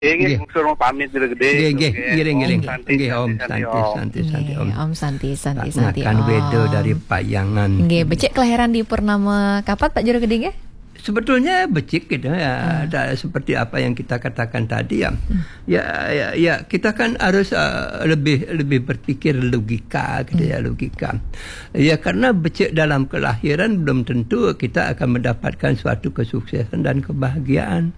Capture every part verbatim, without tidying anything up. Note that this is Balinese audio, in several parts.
Nggih, nggih, nggih. Suruh pamit dulu gede. Nggih, nggih, ngiring, ngiring. Nggih, Om, santi, santi, santi, Om. Nggih, Om, santi, santi, santi, Om. Pak Ngakan Wedo dari Payangan. Nggih, becik kelahiran di purnama kapan, Pak Jero Gede, nggih? Sebetulnya becik gitu ya, ada seperti apa yang kita katakan tadi ya. Ya, ya, ya, kita kan harus, eh, lebih, lebih berpikir logika gitu ya, logika. Ya, karena becik dalam kelahiran belum tentu kita akan mendapatkan suatu kesuksesan dan kebahagiaan.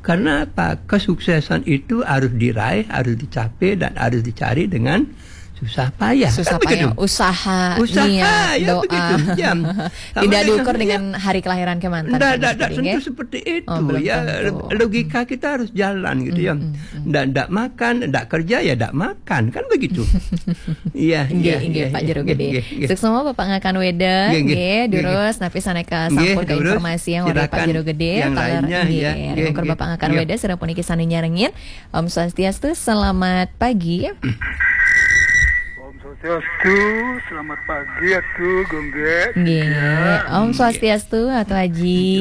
Karena apa? Kesuksesan itu harus diraih, harus dicapai, dan harus dicari dengan susah payah. Susah payah, usaha, usaha, niat, ya, doa. Begitu. Ya. Tidak diukur dengan hari kelahiran kemantan. Tidak, tidak tentu seperti itu. Oh, belum tentu. Logika kita harus jalan gitu ya. Tidak, tidak makan, tidak kerja ya tidak makan, kan begitu. Iya, iya, Pak Jero Gede. Sukses semua Bapak Ngakan Weda, nggih, durus, napi saneka sampun ke informasi yang oleh Pak Jero Gede. Yang lainnya, nggih, ya. Ukur Bapak Ngakan Weda, sira puniki sami nyarengin. Om Swastiastu, selamat pagi. Om Swastiastu, selamat pagi, Atu Gonggek. Nggih, Om Swastiastu, Atu Aji.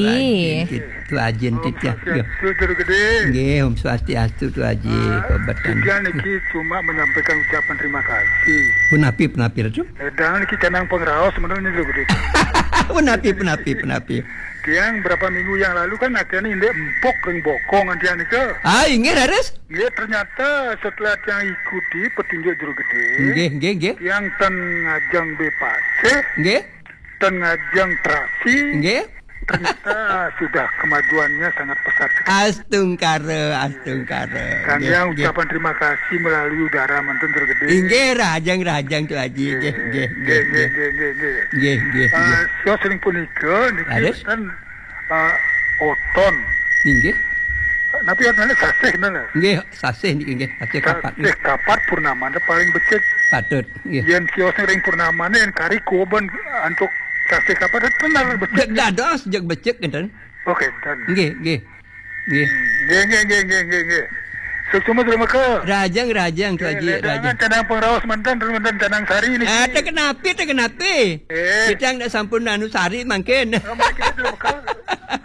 Atu Aji, Om Swastiastu, Jero Gede. Nggih, Om Swastiastu, Atu Aji. Ah, Kobatan. Juga niki cuma menyampaikan ucapan terima kasih. Punapi, punapi, Ratu? Eh, dan niki canang pengraos, sebenarnya, Jero Gede. Punapi, punapi, punapi. Tiang berapa minggu yang lalu kan akhirnya indik empuk ring bokong antian nika. Ah, inggih, leres. Nggih, ternyata setelah tiang ikuti petunjuk Jero Gede, nggih, nggih, nggih, tiang ten ngajeng bepasih, nggih, ten ngajeng terasi, nggih, ternyata sudah kemajuannya sangat pesat. Astungkara, astungkara. Kang, nggih, yang nggih, ucapan terima kasih melalui udara manten Jero Gede. Inggih, rahajeng, rahajeng, Atu Aji. Nggih, nggih, nggih, nggih, nggih, nggih. Nggih, nggih, nggih. Eh, sios ring punika niki, leres, ten, eh, oton. Inggih. Napi oton, sasih, nggih. Nggih, sasih niki nggih, sasih kapat. Sasih kapat purnamane paling becik. Patut, nggih. Yen siosne ring purnamane yen kari kuben antuk sasih kapat tenar becik. Jeg dados, jeg becik ngenten. Oh, ngenten. Nggih, nggih. Nggih. Nggih, nggih, nggih, nggih, nggih, nggih. Suksma Jero Meka. Rahajeng, rahajeng, Atu Aji, nggih, rahajeng. Canang pengraos manten, manten canang sari niki. Ah, teken api, teken api. Eh. Titiang nek sampun anu sari mangkin. Oh, mangkin Jero Meka.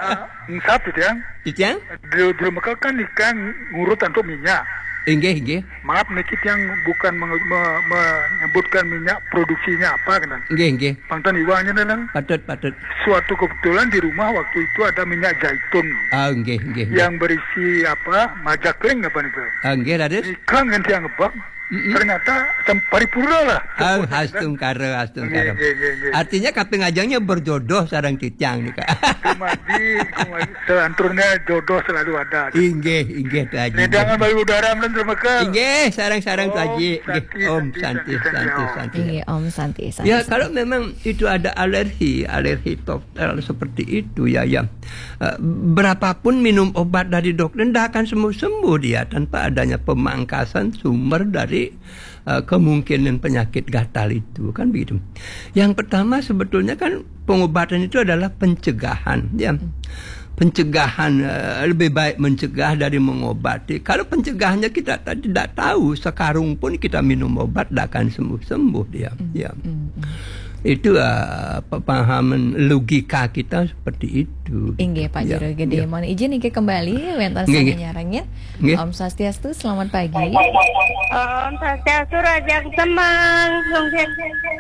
Ah, engsap, Titiang. Titiang? Jero, Jero Meka kan nika ngurut antuk minyak. Inggih, inggih. Maaf niki tiang bukan menge-, me-, menyebutkan minyak produksinya apa, kan. Inggih, inggih. Pangtan iwangnya, kan. Patut, patut. Suatu kebetulan di rumah waktu itu ada minyak zaitun. Ah, inggih, inggih, inggih. Yang berisi apa? Majakling apa niku? Ah, inggih, raden. Nika ngan tiang ngebak. Mm-mm. Ternyata sem-, paripurna lah. Ah, astungkara, astungkara. Nggih, nggih, nggih, nggih. Artinya kaping ajengnya berjodoh sareng titiang nika. Kumadi, kumadi, selanturnya jodoh selalu ada. Inggih, inggih, Atu Aji. Ledangan bayu udara manten Jero Meka. Inggih, sareng-sareng Atu Aji. Nggih, santi, Om santi, santi, santi, santi, santi. Inggih, Om santi, santi, santi. Ya, kalau memang itu ada alergi, alergi total seperti itu, ya, ya. Eh, berapapun minum obat dari dokter, ndak akan sembuh-sembuh dia tanpa adanya pemangkasan sumber dari, eh, kemungkinan penyakit gatal itu, kan begitu. Yang pertama sebetulnya kan pengobatan itu adalah pencegahan, ya. Pencegahan, eh, lebih baik mencegah dari mengobati. Kalau pencegahannya kita ta-, tidak tahu, sekarung pun kita minum obat, tidak akan sembuh-sembuh dia. Ya. Itu, eh, pemahaman logika kita seperti itu. Inggih, Pak Jero Gede. Ya. Mohon izin niki kembali, wenten sami nyarengin. Nggih. Om Swastiastu, selamat pagi. Om Swastiastu, rahajeng semeng, Sungsen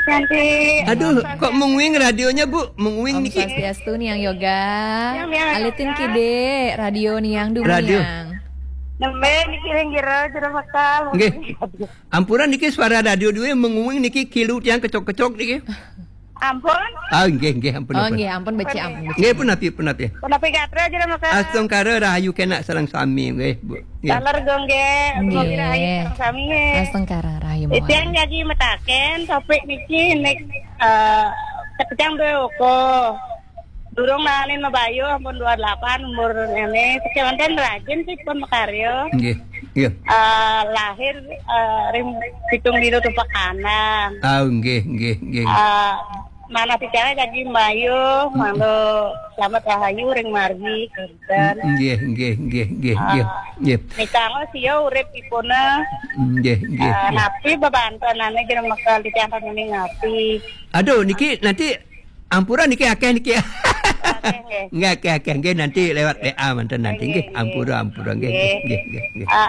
Santi. Aduh, kok menguing radionya, Bu? Menguing niki. Om Swastiastu, Niang Yoga. Niang, Niang Alitin Yoga. Kide, radio Niang Dumiang. Nembe niki ring Jero, Jero Meka. Nggih. Ampura niki suara radio duwe menguing niki kilu tiang kecok-kecok niki. Ampun. Ah, nggih, nggih, ampun, oh, ampun. Nggih, ampun, becik, ampun, becik. Nggih, punapi, punapi. Punapi gatra Jero Meka. Astungkara rahayu kenak sareng sami, nggih, Bu. Nggih. Taler Gonggek, nggih. Rahayu sareng sami, nggih. Astungkara rahayu mawon. Titiang jagi metaken topik niki nek, eh, titiang duwe uku. Durung naenin mabayuh, ampun dua delapan umur ngene. Sekewanten rajin sih pun makarya. Nggih, nggih. Eh, lahir, eh, ring pitung dina tumpek kanan. Ah, nggih, nggih, nggih. Eh, manah bicara jagi mbayuh, mangda selamat rahayu ring margi, kinten. Nggih, nggih, nggih, nggih, nggih. Ah, nggih. Nika sio urip ipuna. Nggih, nggih, eh, nggih. Napi bebantenane Jero Meka titiang kangge napi? Aduh, niki nanti Ampura niki akeh niki. Nggih, akeh, akeh. Nggih, nanti lewat W A manten nanti. Nggih, ampura, ampura. Nggih, nggih, nggih, nggih.